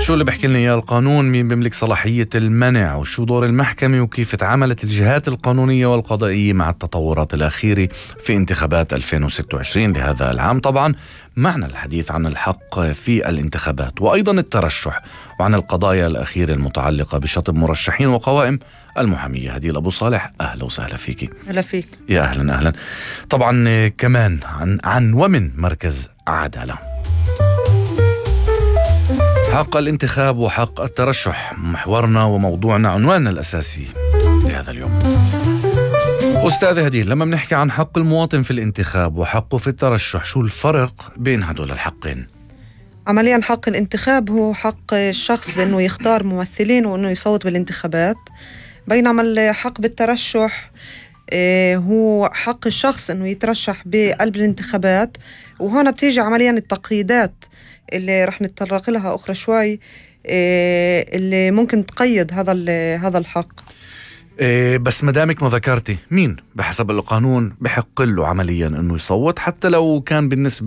شو اللي بحكي لنا إياه القانون؟ مين بيملك صلاحية المنع؟ وشو دور المحكمة؟ وكيف تعاملت الجهات القانونية والقضائية مع التطورات الأخيرة في انتخابات 2026 لهذا العام؟ طبعا معنا الحديث عن الحق في الانتخابات وأيضا الترشح، وعن القضايا الأخيرة المتعلقة بشطب مرشحين وقوائم المحامية. هديل أبو صالح، أهلا وسهلا فيكي. هلا فيك. يا أهلا أهلا. طبعا كمان عن ومن مركز عدالة. حق الانتخاب وحق الترشح محورنا وموضوعنا، عنواننا الأساسي لهذا اليوم. أستاذ هديل، لما بنحكي عن حق المواطن في الانتخاب وحقه في الترشح، شو الفرق بين هدول الحقين؟ عمليا حق الانتخاب هو حق الشخص بأنه يختار ممثلين وأنه يصوت بالانتخابات، بينما الحق بالترشح هو حق الشخص أنه يترشح بقلب الانتخابات. وهنا بتيجي عمليا التقييدات اللي رح نتطرق لها أخرى شوي، اللي ممكن تقيد هذا الحق. بس مدامك ما ذكرتي، مين بحسب القانون بحق له عمليا أنه يصوت حتى لو كان بالنسبة